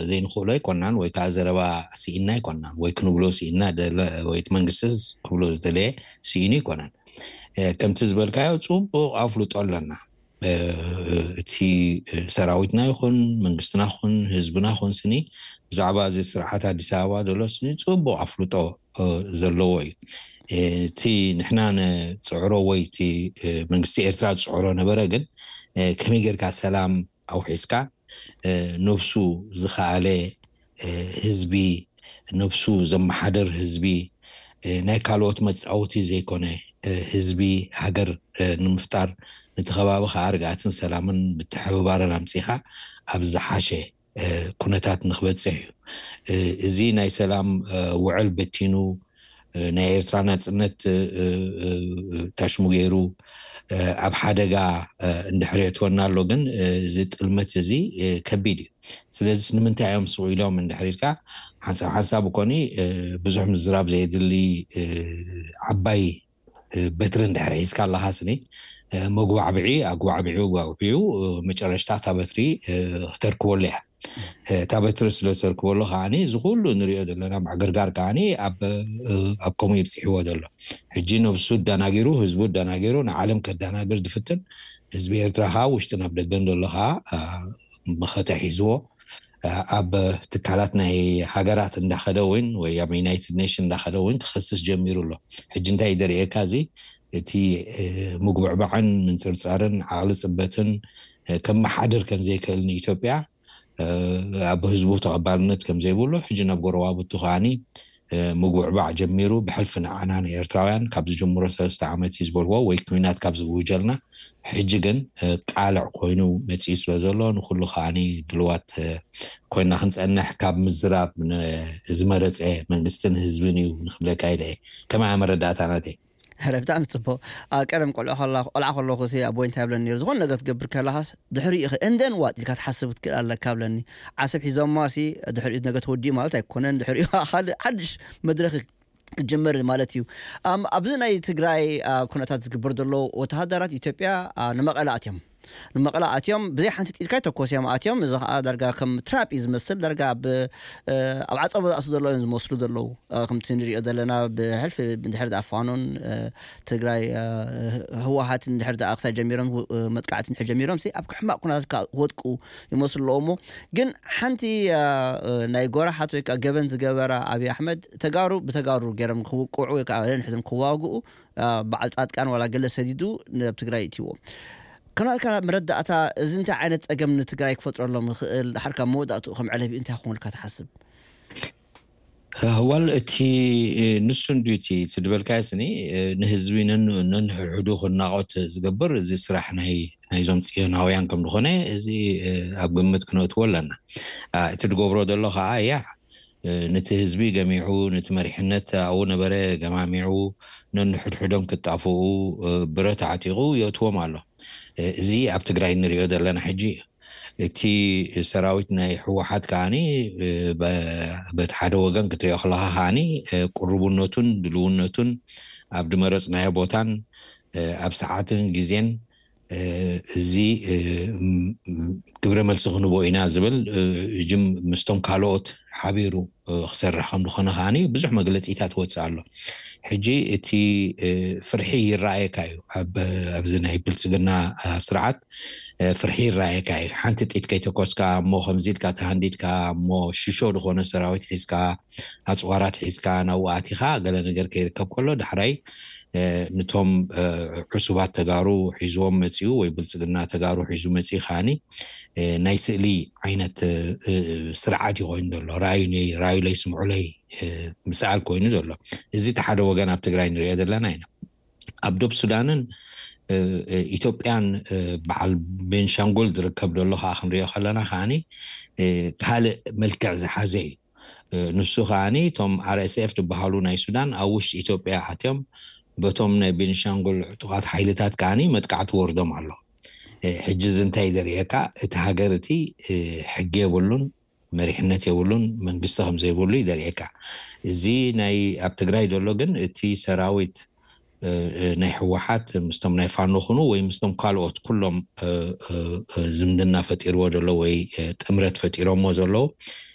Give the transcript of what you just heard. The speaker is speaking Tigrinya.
ዘይንኽእሎ ኣይኮናን፣ ወይ ከዓ ዘረባ ስኢና ኣይኮናን፣ ወይ ክንብሎ ስኢና ደለ-፣ ወይ እቲ መንግስቲ ክብሎ ዝደለየ ስኢኑ ኣይኮነን። እ፣ ከምቲ ዝበልካዮ ጽቡቕ ኣፍልጦ ኣለና። እ፣ እቲ ሰራዊትና ይኹን መንግስትና ይኹን ህዝብና ይኹን ስኒ ብዛዕባ እዚ ስርዓት ኣዲስ ኣበባ ዘሎ ስኒ ጽቡቕ ኣፍልጦ እ፣ ዘለዎ እዩ። እ፣ እቲ ንሕና ንፅዕሮ ወይ እቲ እ፣ መንግስቲ ኤርትራ ዝፅዕሮ ነበረ፣ ግን እ፣ ከመይ ጌርካ ሰላም ኣውሒስካ እ፣ ነብሱ ዝኸኣለ እ፣ ህዝቢ፣ ነብሱ ዘመሓደር ህዝቢ፣ እ፣ ናይ ካልኦት መፃወቲ ዘይኮነ እ፣ ህዝቢ፣ ሃገር እ፣ ንምፍጣር፣ ነቲ ከባቢ ከዓ ርግኣትን ሰላምን ምትሕብባርን ኣምፂኻ ኣብ ዝሓሸ እ፣ ኩነታት ንክበፅሕ እዩ። እ፣ እዚ ናይ ሰላም እ፣ ውዕል በቲኑ እ፣ ናይ ኤርትራ ናፅነት እ፣ እ፣ እ፣ ታሽሙ ገይሩ እ፣ ኣብ ሓደጋ እ፣ እንድሕር የእትወና ኣሎ፣ ግን እ፣ እዚ ጥልመት እዚ እ፣ ከቢድ እዩ። ስለዚ ንምንታይ እዮም ስቕ ኢሎም እንድሕር ኢልካ፣ ሓንሳብ ሓንሳብ እኮኒ እ፣ ብዙሕ ምዝራብ ዘየድሊ እ፣ ዓባይ እ፣ በትሪ እንድሕር ሒዝካ ኣለኻ ስኒ እ፣ መጉባዕብዒ ኣጉባዕቢዑ ኣጉባዕቢዑ እ፣ መጨረሽታ እታ በትሪ እ፣ ክተርክበሉ እያ። እ፣ እታ በትሪ ስለ ዝተርክበሉ ከዓኒ እዚ ኩሉ ንሪኦ ዘለና ምዕግርጋር ከዓኒ ኣብ እ፣ ኣብ ከምኡ ይብፅሕዎ ዘሎ። ሕጂ ነብሱ ኣደናጊሩ፣ ህዝቡ ኣደናጊሩ፣ ንዓለም ከደናግር ዝፍትን ህዝቢ ኤርትራ ከዓ ውሽጥን ኣብ ደገን ዘሎ ከዓ እ፣ መኸተ ሒዝዎ እ፣ ኣብ ትካላት ናይ ሃገራት እንዳኸደ እውን ወይ ኣብ ዩናይትድ ኔሽን እንዳኸደ እውን ክኸስስ ጀሚሩ ኣሎ። ሕጂ እንታይ ደርእየካ፣ እዚ እቲ እ፣ ምጉብዕባዕን ምንፅርፃርን ዓቕሊ ፅበትን እ፣ ከመሓድር ከም ዘይክእል ንኢትዮጵያ እ፣ ኣብ ህዝቡ ተቐባልነት ከም ዘይብሉ፣ ሕጂ ናብ ጎረባብቱ ከዓኒ እ፣ ምጉብዕባዕ ጀሚሩ፣ ብሕልፊ ንዓና ንኤርትራውያን ካብ ዝጅምሮ ሰለስተ ዓመት እዩ ዝበልዎ፣ ወይ ኩናት ካብ ዝእውጀልና፣ ሕጂ ግን እ፣ ቃልዕ ኮይኑ መፂኡ ስለ ዘሎ፣ ንኩሉ ከዓኒ ድልዋት እ፣ ኮይና ክንፀንሕ፣ ካብ ምዝራብ ን-፣ ዝመረፀ መንግስትን ህዝብን እዩ ንክብለካ ኢለ እየ። ከመይ መረዳእታ ናተይ? ኧረ ብጣዕሚ ጽቡቕ። ኣብ ቀደም ቆልዑ ከላ-፣ ቆልዓ ከለኹ ሲ ኣቦይ እንታይ ይብለኒ ነይሩ፣ ዝኾነ ነገር ትገብር ከለኻስ ድሕሪኡ ኢኸ and then what ኢልካ ትሓስብ ክትክእል ኣለካ ብለኒ። ዓሰብ ሒዞማ ሲ ድሕሪኡ ነገ ተወዲኡ ማለት ኣይኮነን፣ ድሕሪኡ ካልእ ሓድሽ መድረኽ ክትጅምር ማለት እዩ። ኣም፣ ኣብዚ ናይ ትግራይ ኣ፣ ኩነታት ዝግበር ዘሎ፣ ወተሃደራት ኢትዮጵያ ኣ፣ ንመቐለ ኣትዮም፣ ንመቐለ ኣትዮም ብዘይ ሓንቲ ጥይት ከይተኮስ እዮም ኣትዮም። እዚ ኸኣ ዳርጋ ከም ትራፕ እዩ ዝመስል። ዳርጋ ኣብ እ፣ ኣብ ዓጸቦ ዝኣትዉ ዘለዉ እዮም ዝመስሉ ዘለዉ። እ፣ ከምቲ ንሪኦ ዘለና ብሕልፊ እንድሕር ደኣ ፋኖን እ፣ ትግራይ እ፣ ህወሓትን እንድሕር ደኣ ክሳብ ጀሚሮም እ፣ መጥቃዕቲ እንድሕር ጀሚሮም ሲ ኣብ ሕማቕ ኩነታት ክወድቁ ይመስሉ ኣለዉ። እሞ ግን ሓንቲ እ፣ እ፣ ናይ ጎራሓት ወይ ከዓ ገበን ዝገበራ ኣብይ ኣሕመድ ተጋሩ ብተጋሩ ገይሮም ክውቅዑ ወይ ከዓ ነንሕድም ክዋግኡ እ፣ በዓል ፃድቃን ዋላ ገለ ሰዲዱ ናብ ትግራይ እትይዎ። ከናትካ መረዳእታ እዚ እንታይ ዓይነት ፀገም ንትግራይ ክፈጥረሎም ይኽእል? ድሓር ካብ መወዳእትኡ ከም ዕለቢ እንታይ ክኾን ኢልካ ትሓስብ? ዋል እቲ እ፣ ንሱ እንድዩ እቲ እቲ ዝበልካዮ ስኒ እ፣ ንህዝቢ ነን-፣ ነንሕድሕዱ ክናቖት ዝገብር እዚ ስራሕ ናይ ናይዞም ጽዮናውያን ከም ዝኾነ እዚ እ፣ ኣብ ግምት ክነእትዎ ኣለና። ኣ፣ እቲ ዝገብሮ ዘሎ ኸኣ እያ እ፣ ነቲ ህዝቢ ገሚዑ፣ ነቲ መሪሕነት ኣብኡ ነበረ ገማሚዑ፣ ነንሕድሕዶም ክጣፍኡ እ፣ ብረት ኣዕጢቑ የእትዎም ኣሎ። እ፣ እዚ ኣብ ትግራይ እንሪኦ ዘለና ሕጂ እዩ። እቲ ሰራዊት ናይ ህወሓት ከዓኒ እ፣ በ-፣ በቲ ሓደ ወገን ክትሪኦ ከለኻ ከዓኒ እ፣ ቅሩብነቱን ድልውነቱን ኣብ ዝመረፅናዮ ቦታን እ፣ ኣብ ሰዓትን ግዜን እ፣ እዚ እ፣ ም-፣ ም-፣ ግብረ መልሲ ክንቦ ኢና ዝብል እ፣ እጅም ምስቶም ካልኦት ሓቢሩ እ፣ ክሰርሕ ከም ዝኾነ ከዓኒ ብዙሕ መግለፂታት ወፅእ ኣሎ። ሕጂ እቲ እ፣ ፍርሒ ይረኣየካ እዩ። ኣብ፣ ኣብዚ ናይ ብልፅግና እ፣ ስርዓት እ፣ ፍርሒ ይረኣየካ እዩ። ሓንቲ ጥይት ከይተኮስካ እሞ ከምዚ ኢልካ ተሃንዲድካ እሞ ሽሾ ዝኾነ ሰራዊት ሒዝካ ኣፅዋራት ሒዝካ ናብኡ ኣቲኻ ገለ ነገር ከይርከብ ከሎ ዳሕራይ እ፣ ንቶም እ፣ ዕሱባት ተጋሩ ሒዝዎም መፂኡ ወይ ብልፅግና ተጋሩ ሒዙ መፂኡ ከዓኒ እ፣ ናይ ስእሊ ዓይነት እ፣ እ፣ ስርዓት እዩ ኮይኑ ዘሎ። ራዩኒ ራዩለይ ስምዑለይ እ፣ ምስኣል ኮይኑ ዘሎ። እዚ እቲ ሓደ ወገን ኣብ ትግራይ ንሪኦ ዘለና ኢና። ኣብ ዶብ ሱዳንን እ፣ እ፣ ኢትዮጵያን እ፣ በዓል ቤንሻንጉል ዝርከብ ዘሎ ከዓ ክንሪኦ ከለና ከዓኒ እ፣ ካልእ መልክዕ ዝሓዘ እዩ። እ፣ ንሱ ከዓኒ እቶም ኣር ኤስ ኤፍ ዝበሃሉ ናይ ሱዳን ኣብ ውሽጢ ኢትዮጵያ ኣትዮም በቶም ናይ ቤንሻንጉል ዕጡቓት ሓይልታት ከዓኒ መጥቃዕቲ ወርዶም ኣሎ። እ፣ ሕጂ እዚ እንታይ ዘርእየካ? እቲ ሃገር እቲ እ፣ ሕጊ የብሉን፣ መሪሕነት የብሉን፣ መንግስቲ ከም ዘይብሉ እዩ ዘርእየካ። እዚ ናይ ኣብ ትግራይ ዘሎ ግን እቲ ሰራዊት እ፣ እ፣ ናይ ህወሓት ምስቶም ናይ ፋኖ ኩኑ ወይ ምስቶም ካልኦት ኩሎም እ፣ እ፣ እ፣ ዝምድና ፈጢርዎ ዘሎ ወይ እ፣ ጥምረት ፈጢሮሞ ዘለዉ